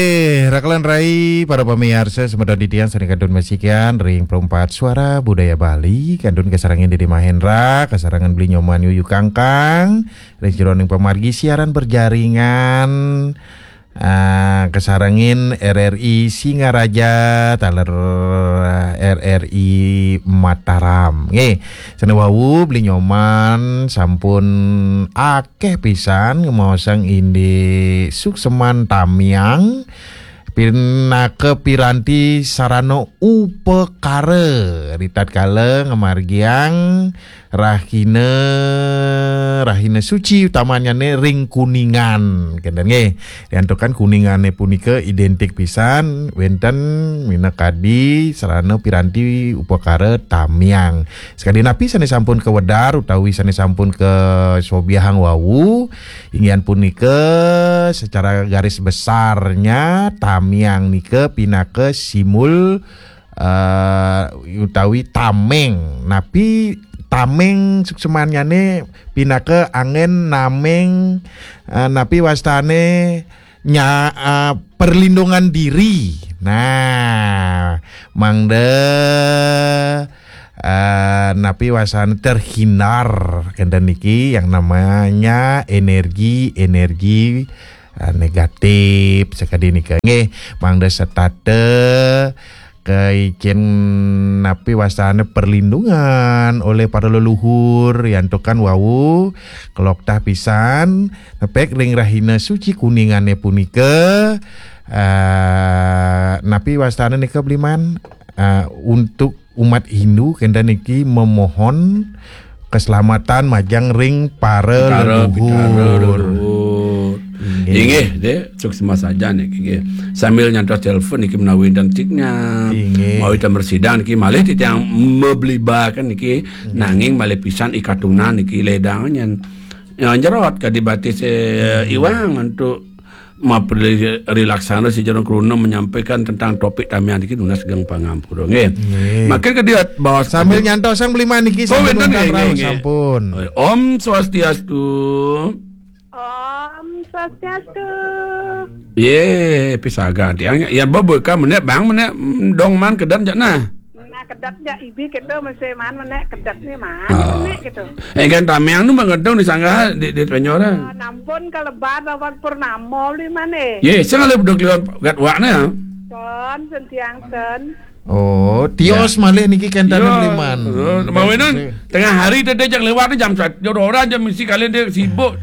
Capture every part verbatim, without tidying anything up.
Eh, rakelan rai para pamiarsa semeton titiang sane kantun masikian ring Perempat Suara Budaya Bali, kantun kasarengin Dede Mahendra, kasarengin Beli Nyoman Yuyu Kangkang, ring jeroning pamargi siaran berjaringan, ah, kasarengin R R I Singaraja, taler R R I Mataram. Nggih, sane wau Beli Nyoman sampun akeh pisan ngemaosang indik suksman tamiang, pinaka piranti sarana upakara ritatkala ngamargiang rahina, rahina suci utamannyane ring Kuningan. Kenten nggih. Riantukan Kuningane punika identik pisan wenten minakadi sarana piranti upakara tamiang. Sakadi napi sane sampun kawedar utawi sane sampun kasobiahang wau, inggih punika secara garis besarnya tamiang nika pinaka simbol, eh, utawi tameng. Napi tameng suksmannyane pinaka anggen nameng, eh, napi wastane nya-, eh, perlindungan diri. Nah, mangda, eh, napi wastane terhindar kenten niki yang namanya energi-energi, eh, negatif sakadi nika. Nggih, mangda setata kaiken napi wastane perlindungan oleh para leluhur, yantukan wau keloktah pisan nepek ring rahina suci Kuningane punika, eh, napi wastane nika Bliman, eh, untuk umat Hindu kenten niki memohon keselamatan majeng ring para Pitara, leluhur. Pitara leluhur. Inggih. Inggih, deh, suksma saja niki, inggih. Sambil nyantos telepon niki menawi dan tiknya. Inggih. Menawi dan mersidang niki malih titiang meblibakan niki, inggih, nanging malih pisan ikatunan niki ledang nyen. Ya, jerot kadi batis, eh, hmm, iwang untuk mapri-, rilaksana si Jero Kruna menyampaikan tentang topik tamiang niki nunas geng pangampura. Nggih. Nggih. Makin kadi baos sambil nyantosang Bliman niki. Oh, sampun wenten, undang nggih, rauh, nggih, nggih. Sampun. Om Swastiastu. Om Swastiastu. Ye, pisaga tiang. Ya, bobo ka menek bang, menek, mm, dong man kedan jak nah. Nah, kedat jak ibi kita mesti man menek kedat ni man, oh, menek gitu. Eh, kan tamiang nu mangedong di sanggah di, di Penyoran. Ah, nampun kalebat lawan purnama Bliman, eh. Ye, sing ale bedok liwan gat wak ne. Ten, sentiang ten. Oh, tios, ya, malih niki kenten, ya, Bliman. Oh, mawinan tengah hari tadi jak lewat ni jam satu, jam dua orang jam mesti kalian dia sibuk.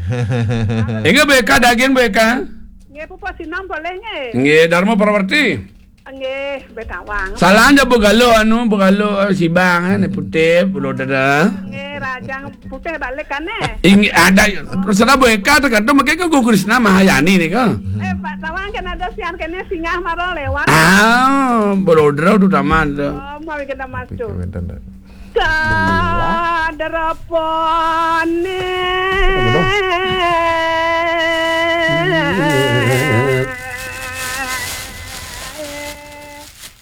Enggak beka daging beka. Nggih, pupuh sinam boleh nggih? Nggih, Dharma Prawerti. Nggih, betawang. Salah aja begalo anu, begalo, eh, sibang, eh, putih, belum ada. Nggih, rajang putih balik kan, eh? Inggih, ada, terserah Bu Eka, tergantung, mungkin kan Guru Krisna Mahayani nih, kan? Eh, Pak Tawang kan ada sian kene singgah maro lewat. Ah, Brodra tu taman tu. Oh, mau kita masuk. Pikir wenten dah. Sadarapane.